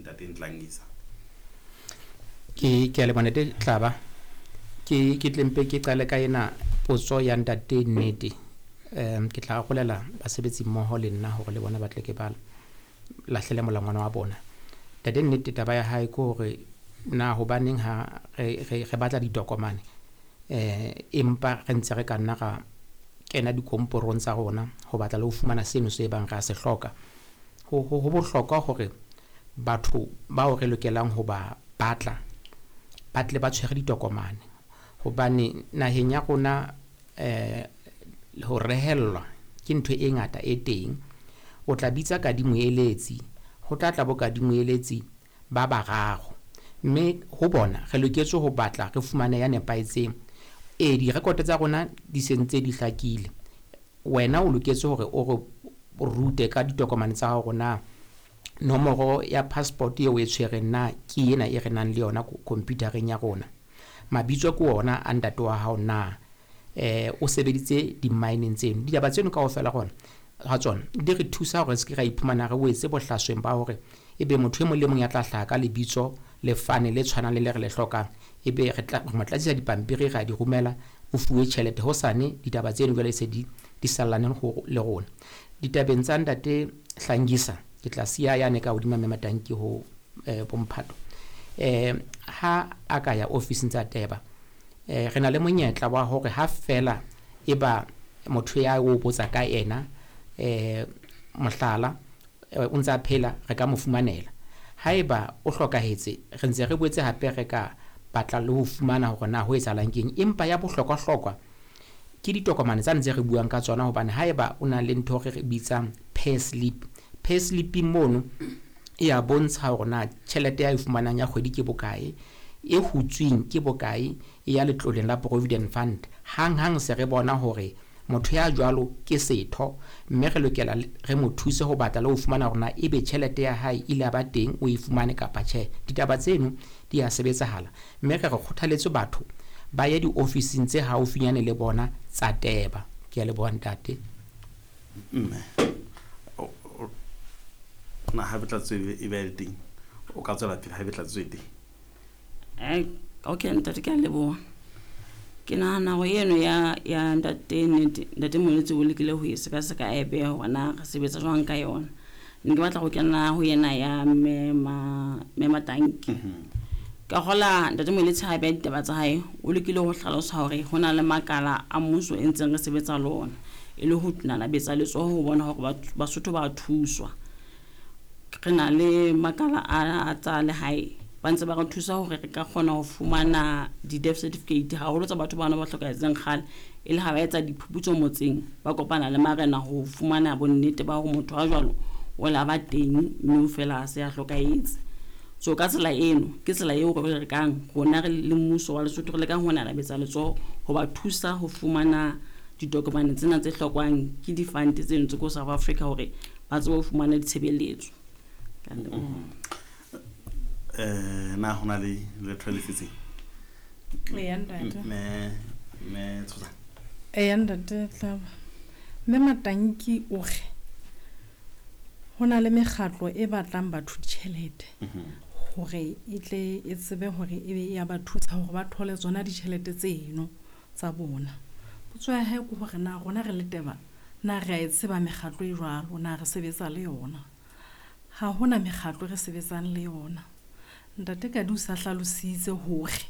Ntate Ntlangisa. Ke ke a leboha Ntate Tlaba. Ke ke tle mpe ke qale ka ena potso ya Ntate Nnete. Ke tla arolela basebetsi mmoho le nna hore le bona ba tle ke ba lahlele molangwana wa bona. Ntate Nnete taba ya hae ke hore na hobaneng ha re re re batla ditokomane empa re ntse re ka nna ra kena dikomporong tsa rona ho batla le ho fumana seno se bang re a se hloka. Ho bohlokwa hore batho bao re lokelang ho ba batla ba tle ba tshwere ditokomane, hobane naheng ya rona ho rehellwa ke ntho e ngata e teng. O tla bitsa kadimoeletsi, ho tla tla bo kadimoeletsi ba bararo, mme ho bona re loketse ho batla re fumane ya nepahetseng. E direkoto tsa rona di sentse di hlakile, wena o loketse hore o re rute ka ditokomane tsa hao hore na nomoro ya passport eo o e tshwereng na ke ena e re nang le yona computereng ya rona. Mabitso ke ona a ntate wa hao na, o sebeditse di-mineng tseno. Ditaba tseno kaofela rona ha tsona di re thusa hore re se ke ra iphumana re wetse bohlasweng ba hore ebe motho e mong le mong ya tla hlaha ka lebitso le fane le tshwanang le le re le hlokang, ebe re tla mo tlatsisa dipampiri ra di romela, o fuwe tjhelete hosane. Ditaba tseno jwale se di di sallane ho le rona. Ditabeng tsa Ntate Hlangisa ke tla siya yane ka hodima Mme Matanki ho bomphato. Ha a ka ya ofising tsa Teba, re na le monyetla wa hore ha fela e ba motho ya o botsa ka ena, mohlala, o ntse a phela, re ka mo fumanela. Haeba o hlokahetse, re ntse re boetse hape re ka batla le ho fumana hore na ho etsahalang keng. Empa ya bohlokwa-hlokwa ke ditokomane tsane tse re buang ka tsona, hobane haeba o na le ntho re re bitsang pay slip, pay slip-ing mono e ya bontsha hore na tjhelete ya e fumanang ya kgwedi ke bokae, e hutsweng ke bokae, e ya letloleng la Provident Fund. Hang-hang se re bona hore motho ya jwalo ke setho, mme re lokela re mo thuse ho batla le ho fumana hore na ebe tjhelete ya hae ile ya ba teng, o e fumane kapa tjhe. Ditaba tseno di ya sebetsahala, mme re re kgothaletse batho ba ye diofising tse haufinyane le bona tsa Teba. Ke a leboha ntate. Mme na ha tlatso e be le teng, o ka tswela pele ha ebe tlatso e teng? Okay ntate, ke a leboha. Ke nahana hore eno ya ntate Nnete, Ntate Moeletsi o lekile ho e sekaseka, a e beha hore na re sebetsa jwang ka yona. Ne ke batla ho kena ho ena ya Mme Matanki. Ka hola Ntate Moeletsi ha beha ditaba tsa hae, o lekile ho hlalosa hore ho na le makala a mmuso e ntseng re sebetsa le ona, e le ho nanabetsa letsoho ho bona hore Basotho ba thuswa. Re na le makala a tsa lehae, ba ntse ba re thusa hore re ka kgona ho fumana di-death certificate, haholo tsa batho bana ba hlokahetseng kgale, e le ha ba etsa diphuputso motseng, ba kopana le marena ho fumana bonnete ba hore motho a jwalo o la ba teng, mme o fela a se a hlokahetse. So ka tsela eno ke tsela eo re rekang rona re le mmuso wa Lesotho, re lekang ho nanabetsa letsoho ho ba thusa ho fumana ditokomane tsena tse hlokwang ke di-fund tseno tse ko South Africa, hore ba tsebe ho fumana ditshebeletso. Ka leboha. Na hona le letho le setseng? Eya ntate. Mme Tshosa. Eya ntate Tlaba. Mme Matanki o re ho na le mekgatlo e batlang batho ditjhelete hore e tle e tsebe hore ebe e ya ba thusa hore ba thole tsona ditjhelete tseno tsa bona. Potso ya hae ke hore na rona re le Teba na re a e tseba mekgatlo e jwalo, na re sebetsa le yona? Ha hona mekgatlo re sebetsang le yona. Ntate Kadi o sa hlalositse hore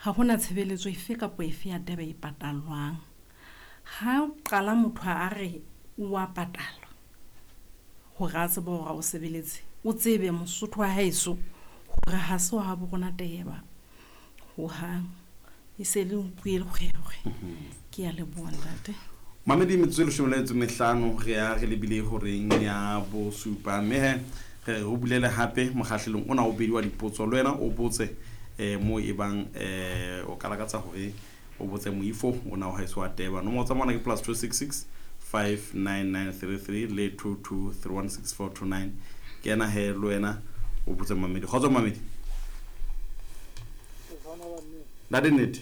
ha hona tshebeletso efe kapa efe ya Teba e patallwang. Ha qala motho a re o a patalwa hore a tsebe hore a o sebeletse, o tsebe Mosotho wa haeso hore ha se wa habo rona Teba hohang. E se le nku e lekgwekgwe. Ke a leboha ntate. Mamedi, metsotso e 15 re ya re lebile horeng ya bosupa, mme he re re o bulele hape mokgahlelong ona o bedi wa dipotso. Le wena o botse mo e bang o ka lakatsa hore o botse moifo ona wa haeso wa Teba. Nomoro tsa mona ke +266 59933 le 22316429. Ke ena he, le wena o botse mamedi. Kgotso mamedi. Ntate Nnete.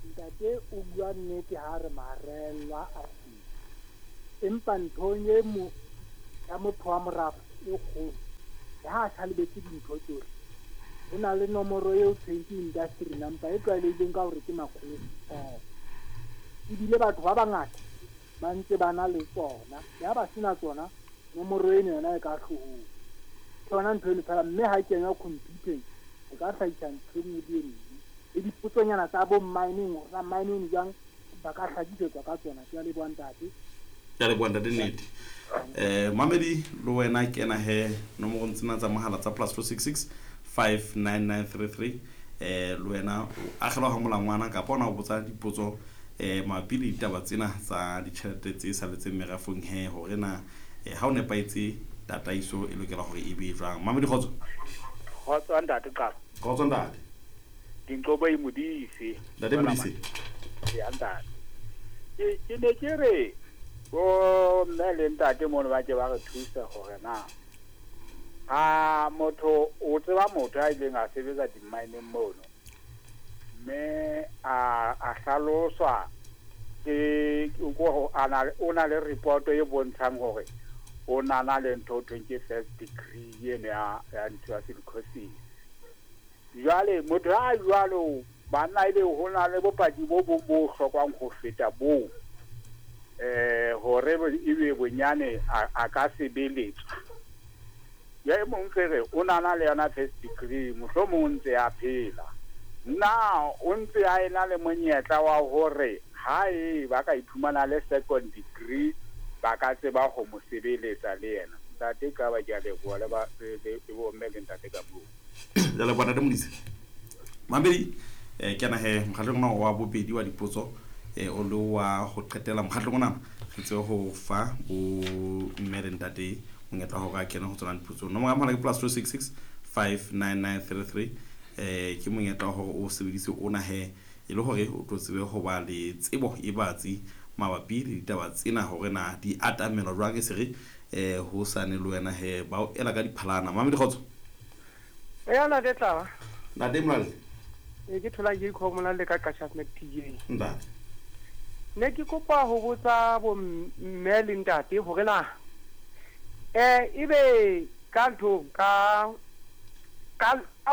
Ntate o bua nnete ha re marellwa a teng, empa nthong e mo ya motho wa morafe e kgolo Le ha a sa lebetse dintho tsohle, ho na le nomoro eo thweng ke industry number e tlwaelehileng ka hore ke makgolo. Ebile batho ba bangata ba ntse ba na le tsona. Le ha ba sena tsona, nomoro eno yona e ka hloohong. Ke yona ntho eno feela, mme ha e kenywa computer-eng e ka hlahisa ntho e nngwe le e nngwe. Le dipotsonyana tsa bo mining, hore na mining jwang, ba ka hlakisetswa ka tsona. Ke a leboha ntate. Ke a leboha ntate Nnete. Mamedi le wena kena he nomorong tsena tsa mohala tsa plus 466 59933 le wena o agelwa ga molangwana kapa ona o botsa dipotso mabapi le ditaba tsena tsa ditjhelete tse saletseng merafong he hore na ha o nepahetse tataiso e lokela hore e be jwang. Mamedi kgotso. Kgotso ntate Qaba. Kgotso ntate. Dinqobo e Modise. Ntate Modise. Ya ntate. Ke ne ke re bo mme le ntate mono ba ke ba re thusa hore na ha motho o tseba motho a ileng a sebetsa di-mineng mono, mme a hlaloswa ke o na le report e bontshang hore o na na le ntho ho thweng ke first degree eno ya ntho ya silicosis. Jwale motho a jwalo banna ebe ho na le bopaki bo bong bo hlokwang ho feta boo, hore ebe bonyane a ka sebeletswa. Ya e mong re o na na le yona first degree, mohlomong o ntse a phela. Na o ntse a ena le monyetla wa hore ha e ba ka iphumana le second degree ba ka tseba ho mo sebeletsa le yena. Ntate ka ba ke a leboha le ba le bomme le ntate ka moo. Ya leboha ntate Modise. Mamedi ke na he mokgatlong ona wa bobedi wa dipotso o le wa ho qetela mokgatlong ona re tsebe ho fa bo mme le ntate monyetla hore a kene ho tsona dipotso. Nomoro ya mohala ke plus 266 59933 ke monyetla hore o sebedise ona he e le hore o tlo tsebe ho ba le tsebo e batsi mabapi le ditaba tsena hore na di atamelwa jwang e se re ho sane le wena he ba o ela ka diphalana. Mamedi kgotso. Ya ntate Tlaba. Ntate Molalle. Ke thola ke ikhomola le ka Qashas Mac TJ. Ntate. Ne ke kopa ho botsa bo mme le ntate hore na ebe ka ntho ka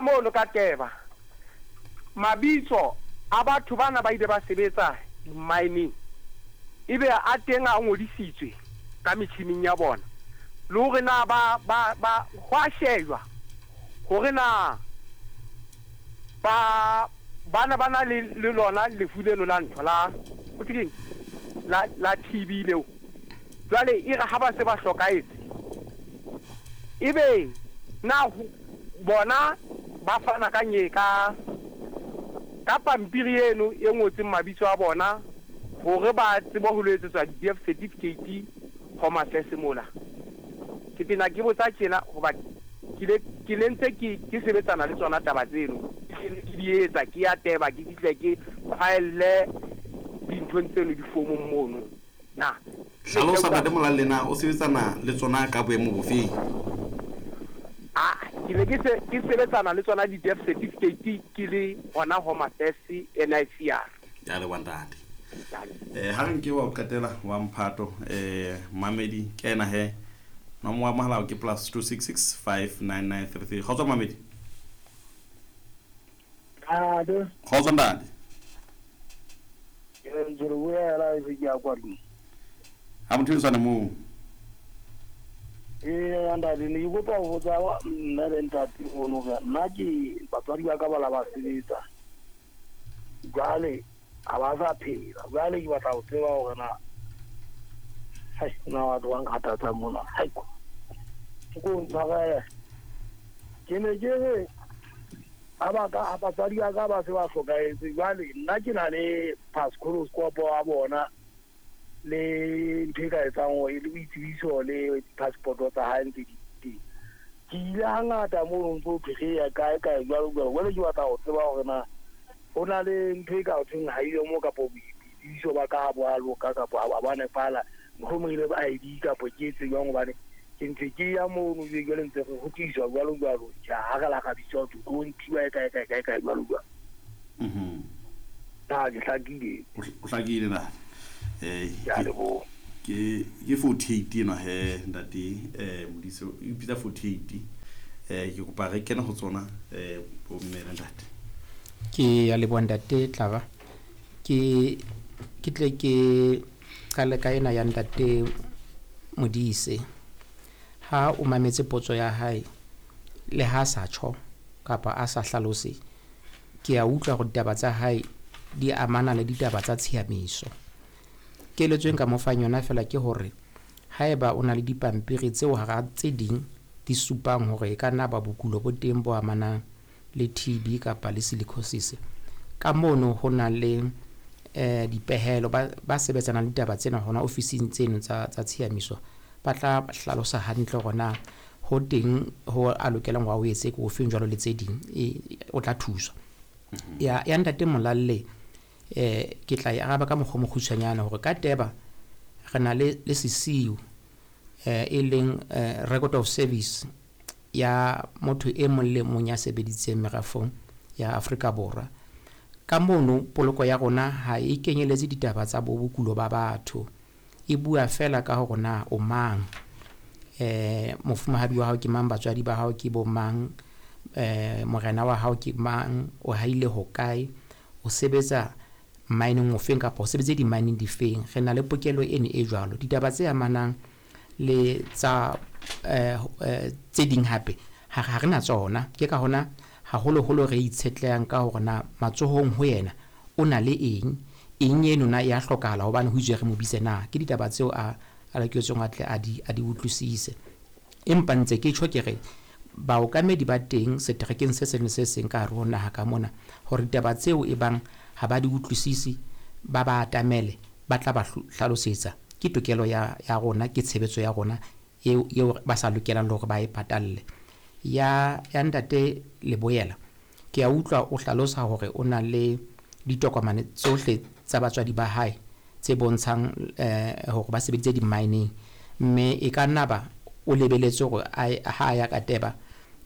mono ka teba mabitso a batho bana ba ile ba sebetsa mining ebe a teng a ngodisitswe ka metjhining ya bona, le hore na ba hwa shejwa hore na ba bana ba na le lona lefu leno la ntho la o tseng la TB leo. Jwale e re ha ba se ba hlokahetse ebe na bona ba fana ka nye ka pampiri eno e ngotseng mabitso a bona hore ba tsebe ho etsetswa di-death certificate Home Affairs mola. Ke tena ke botsa tjena hoba ke le ntse ke sebetsana le tsona taba tseno, ke di etsa ke ya teba ke fihle ke file dinthong tseno difomong mono. Na hlalosa ntate Molalle na o sebetsana le tsona ka boemo bofeng? Ke ne ke sebetsana le tsona di-death certificate ke le hona Home Affairs NICR. Ya leboha ntate. Ha re nke wa qetela wa mphato Mamedi ke ena he nomoro ya mohala ke plus 266 59933. Kgotso Mamedi. Ado. Kgotso ntate. Ke ntse re boela e ke ya kwa tlung. Ha motho tshwana moo. Ntate ne ke kopa ho botsa mme le ntate ono hore nna ke batswadi ba ka ba la ba sebetsa. Jwale ha ba sa phela. Jwale ke batla ho tseba hore na hai na batho ba nkgathatsa mona. Hai ko. Ke ko ntshwarele. Ke ne ke re ha ba ka batswadi ba ka ba se ba hlokahetse. Jwale nna ke na le passport wa bona le ntho e ka etsang hore le boitsebiso le passport tsa hae ntse di teng. Ke ile hangata mono ntso thwe ya kae kae jwalo jwalo. Jwale ke batla ho tseba hore na ho na le ntho e ka ho thweng ha eyo mo kapo boitsebiso ba ka ha bo a loka kapo ha ba nepala, mohlomong e le ID kapo ke etse jwang, hobane ke ntse ke ya mono jwale ntse re kgutliswa jwalo jwalo. Ja ha re la ka bitswa ho tlo ntshiwa e kae kae kae kae jwalo jwalo. Na ke hlakile. O hlakile na? Ke 48 ena he ntate Modise o ipitsa 48 Ke kopa re kene ho tsona, bomme le ntate. Ke ya leboha, ntate Tlaba. Ke tle ke qale ka ena ya ntate Modise. Ha o mametse potso ya hae, le ha sa tjho kapa a sa hlalose, ke a utlwa hore ditaba tsa hae di amana le ditaba tsa tshiamiso. Keletso e nka mo fang yona fela ke hore haeba o na le dipampiri tseo hara tse ding di supang hore e ka nna ba bokulo bo teng bo amanang le TB kapa le silicosis, ka mono ho na le dipehelo. Ba sebetsanang le ditaba tsena hona ofising tseno tsa tshiamiso ba tla hlalosa hantle hore na ho teng ho a lokelang hore a o etse ke ofeng jwalo le tse ding, o tla thuswa. Ya ntate Molalle, ke tla e araba ka mokgwa o mokgutshwanyane hore ka teba re na le sesiu, e leng record of service ya motho e mong le mong ya sebeditseng merafong ya Afrika Borwa. Ka mono poloko ya rona ha e kenyeletse ditaba tsa bo bokulo ba batho, e bua fela ka hore na o mang, mofumahadi wa hao ke mang, batswadi ba hao ke bo mang, morena wa hao ke mang, o haile hokae, o sebetsa mining ofeng kapa o sebetse di-mining difeng. Re na le pokelo eno e jwalo. Ditaba tse amanang le tsa tse ding hape ha re na tsona. Ke ka hona haholoholo re itshetlehang ka hore na matsohong ho yena o na le eng, eng eno na ya hlokahala hobane ho itswe re mo bitse na. Ke ditaba tseo a loketseng a tle a di utlwisise. Empa ntse ke tjho ke re baokamedi ba teng seterekeng se seng le se seng ka hare ho naha ka mona, hore ditaba tseo e bang ha ba di utlwisise ba ba atamele, ba tla ba hlalosetsa. Ke tokelo ya rona, ke tshebetso ya rona eo ba sa lokelang le hore ba e patalle. Ya ntate Leboela, ke a utlwa o hlalosa hore o na le ditokomane tsohle tsa batswadi ba hae tse bontshang hore ba sebeditse di-mining, mme e ka nna ba o lebeletse hore ha a ya ka teba,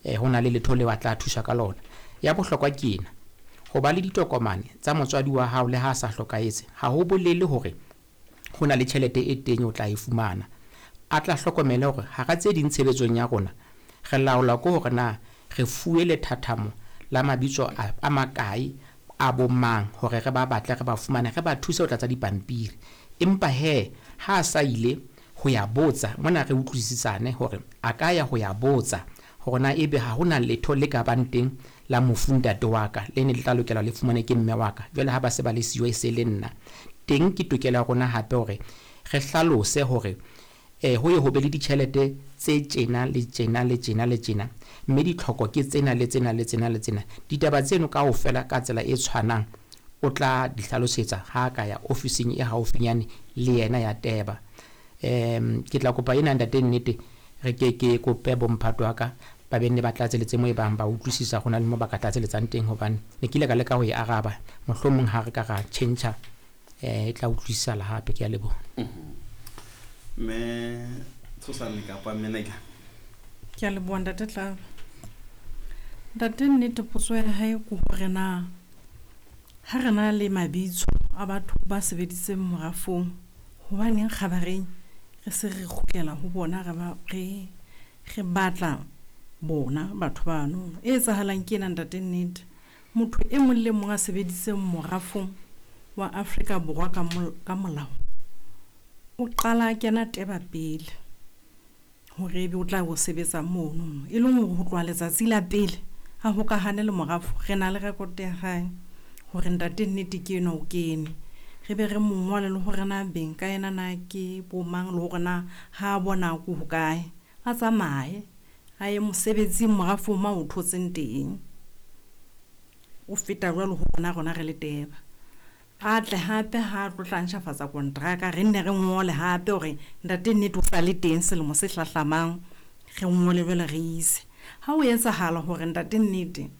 ho na le letho leo a tla thuswa ka lona. Ya bohlokwa ke ena, ho ba le ditokomane tsa motswadi wa hao le ha a sa hlokahetse ha ho bolele hore ho na le tjhelete e teng o tla e fumana. A tla hlokomele hore hara tse ding tshebetsong ya rona re laola ke hore na re fuwe lethathamo la mabitso a makae a bo mang hore re ba batle, re ba fumane, re ba thuse ho tlatsa dipampiri. Empa he ha a sa ile ho ya botsa mona, re utlwisisane hore a ka ya ho ya botsa hore na ebe ha hona letho le ka bang teng la mofu ntate wa ka le ne le tla lokela le fumane ke mme wa ka, jwale ha ba se ba le siyo e se le nna. Teng ke tokelo ya rona hape hore re hlalose hore ho ye ho be le ditjhelete tse tjena le tjena le tjena le tjena, mme ditlhoko ke tsena le tsena le tsena le tsena. Ditaba tseno kaofela ka tsela e tshwanang o tla di hlalosetsa ha a ka ya ofising e haufinyane le yena ya teba. Ke tla kopa ena ntate nnete, re ke ke kope bomphato wa ka ba be nne ba tlatseletse mo e bang ba utlwisisa ho na le mo ba ka tlatseletsang teng, hobane ne ke ile ka leka ho e araba, mohlomong ha re ka ra tjhentjha, e tla utlwisisala hape. Ke a leboha. Mme Tshosane kapa Meneka. Ke a leboha, ntate Tlaba. Ntate nnete, potso ya hae ke hore na ha re na le mabitso a batho ba sebeditseng morafong, hobaneng kgabareng re se re kgutlela ho bona, re batla bona batho bano. E etsahalang ke ena, ntate nnete, motho e mong le mong a sebeditseng morafong wa Afrika Borwa ka molao o qala a kena teba pele hore ebe o tla o sebetsa mono, e leng hore ho tloha letsatsi la pele a hokahane le morafo, re na le record ya hae hore ntate nnete ke enwa o kene, re be re mo ngole le hore na beng ka yena na ke bo mang, le hore na ha a bona ko hokae, a tsamaye a ye mosebetsing morafong ma o thotseng teng. O feta jwalo ho rona re le teba. A tle hape ha tlo tla ntjhafatsa kontraka, re nne re ngole hape hore ntate nnete o sa le teng selemo se hlahlamang, re ngole jwale re ise. Ha o etsahala hore ntate nnete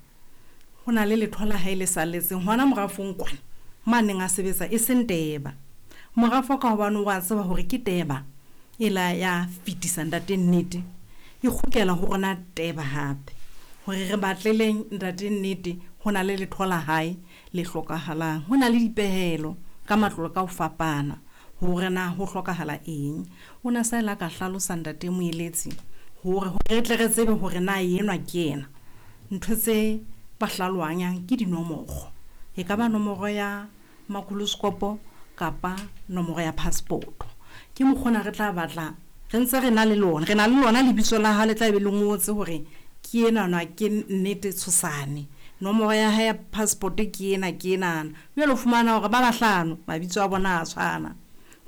ho na le letho la hae le salletseng hona morafong kwana ma neng a sebetsa e seng teba, morafo ka hobane wa tseba hore ke teba e la ya fetisa ntate nnete, e kgutlela ho rona teba hape hore re batleleng ntate nnete ho na le letho la hae le hlokahalang. Ho na le dipehelo ka matlole ka ho fapana hore na ho hlokahala eng. O na sa ile ka hlalosa ntate Moeletsi Hore re tle re tsebe hore na enwa ke ena. Ntho tse ba hlalohanyang ke dinomoro. E ka ba nomoro ya makoloskopo kapa nomoro ya passport. Ke mokgona re tla batla re ntse re na le lona, re na le lona lebitso la hao le tla be le ngotse hore ke enana ke Nnete Tshosane. Nomoro ya hae ya passport ke ena ke enana. Jwale o fumana hore ba bahlano mabitso a bona a tshwana.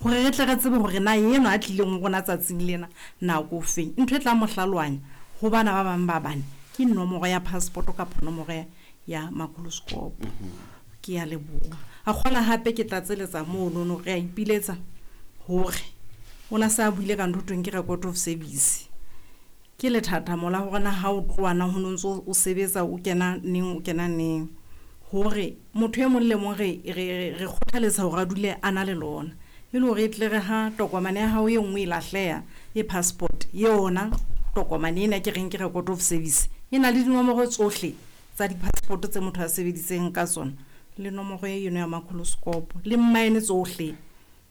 Hore re tle re tsebe hore na enwa a tlileng ho rona tsatsing lena nako feng. Ntho e tla mo hlalohanya ho bana ba bang ba bane ke nomoro ya passport kapa nomoro ya makoloskopo. Ke a leboha. A kgola hape ke tlatseletsa monono, re a ipiletsa hore o na sa buile ka ntho thweng ke record of service. Ke lethathamo la hore na ha o tloha na ho no ntso o sebetsa o kena neng o kena neng. Hore motho e mong le mong re kgothaletsa hore a dule a na le lona. E le hore e tle re ha tokomane ya hao e nngwe e lahleha e passport yona tokomane ena ke reng ke record of service e na le dinomoro tsohle tsa di-passport tse motho a sebeditseng ka tsona le nomoro eno ya makoloskopo le mmaene tsohle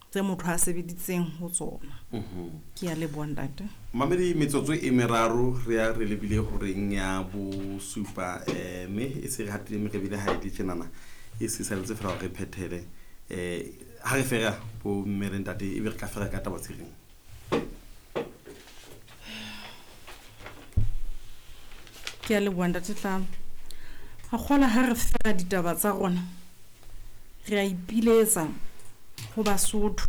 tse motho a sebeditseng ho tsona. Ke a leboha ntate. Mamedi, metsotso e meraro re ya re lebile horeng ya bosupa, mme e se re hatile mme re bile ha e le tjenana e se saletse fela hore re phethele. Ha re fera bo mme le ntate ebe re ka fera ka taba tse reng. Ke a leboha ntate Tlamo. A kgola ha re fera ditaba tsa rona re a ipiletsa ho Basotho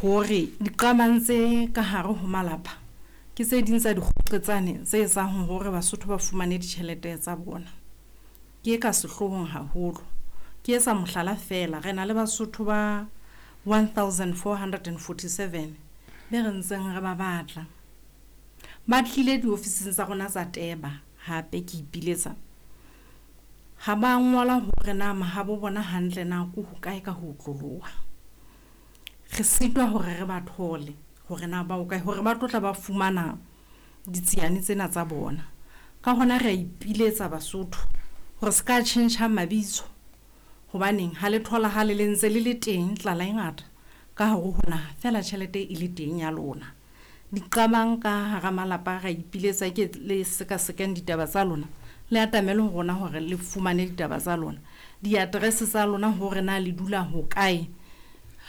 hore diqabang tse ka hare ho malapa ke tse ding tsa dikgoqetsane tse etsang hore Basotho ba fumane ditjhelete tsa bona. Ke ka sehloohong haholo. Ke etsa mohlala fela, re na le Basotho ba 1447 be re ntseng re ba batla. Ba tlile diofising tsa rona tsa Teba hape ke ipiletsa. Ha ba ngola hore na mahabo bona hantle na ko hokae ka ho otloloha. Re sitwa hore re ba thole hore na ba hokae hore ba tlotla ba fumana ditsiane tsena tsa bona. Ka hona re a ipiletsa Basotho hore se ka tjhentjha mabitso. Hobaneng ha le tholahale le ntse le le teng tlala e ngata ka hare ho naha feela tjhelete e le teng ya lona. Diqabang ka hara malapa ra ipiletsa ke le sekasekang ditaba tsa lona le atamele ho rona hore le fumane ditaba tsa lona. Di-address tsa lona hore na le dula hokae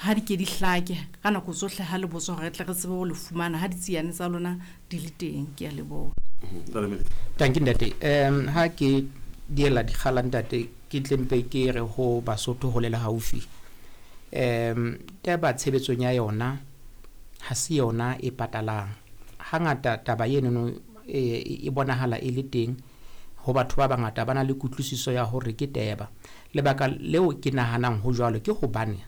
ha di ke di hlake ka nako tsohle ha le botswa hore re tle re tsebe ho le fumana ha ditsiane tsa lona di le teng. Ke a leboha. Tanki ntate. Ha ke diela dikgala ntate ke tle mpe ke re ho Basotho hole le haufi. Taba tshebetsong ya yona ha se yona e patalang. Hangata taba eno e bonahala e le teng ho batho ba bangata ba na le kutlwisiso ya hore ke teba. Lebaka leo ke nahanang ho jwalo ke hobane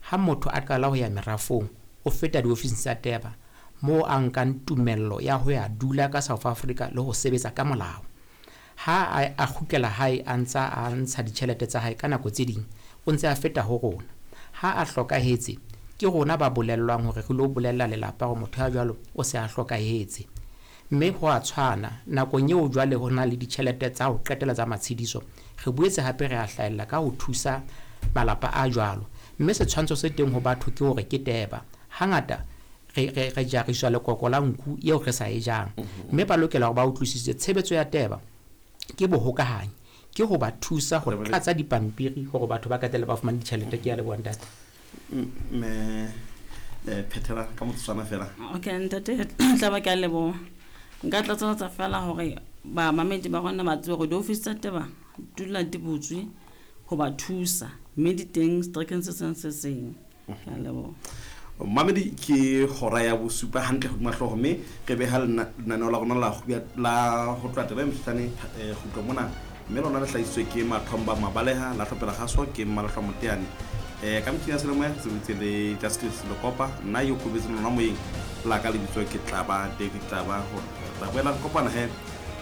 ha motho a qala ho ya merafong o feta diofising tsa teba moo a nkang tumello ya ho ya dula ka South Africa le ho sebetsa ka molao. Ha a kgutlela hae a ntsa a ntsha ditjhelete tsa hae ka nako tse ding o ntse a feta ho rona. Ha a hlokahetse ke rona ba bolellwang hore re lo bolella lelapa hore motho ya jwalo o se a hlokahetse. Mme ho a tshwana nakong eo jwale ho na le ditjhelete tsa ho qetela tsa matshediso re boetse hape re a hlahella ka ho thusa malapa a jwalo. Mme setshwantsho se teng ho batho ke hore ke teba. Hangata re jariswa lekoko la nku eo re sa e jang. Mme ba lokela hore ba utlwisise tshebetso ya teba ke bohokahanyi, ke ho ba thusa ho tlatsa dipampiri hore batho ba qetelle ba fumane ditjhelete. Ke a leboha ntate. Mme phethela ka motsotswana fela. Okay ntate tla ba ke a leboha. Nka tlatseletsa fela hore ba mamedi ba rona ba tsebe hore diofisi tsa Teba dula di butswe ho ba thusa mme di teng seterekeng se seng se seng. Ke a leboha. Mamedi, ke hora ya bosupa hantle hodima hlooho mme re beha lenaneo la rona la ho tloha taba e mehlane kgutlo mona mme lona le hlahisitswe ke Mathomba Mabaleha la hlopela kgaso ke Mmalahlwa Moteane. Ka metjhini ya selemoya re sebeditse le Justice Lekopa, nna yo kobetse lona moyeng la ka lebitso ke Tlaba David Tlaba. Hore re tla boela re kopana he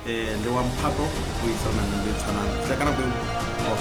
le wa mphato ho isa lenaneng le tshwanang. Fihla ka nako eo.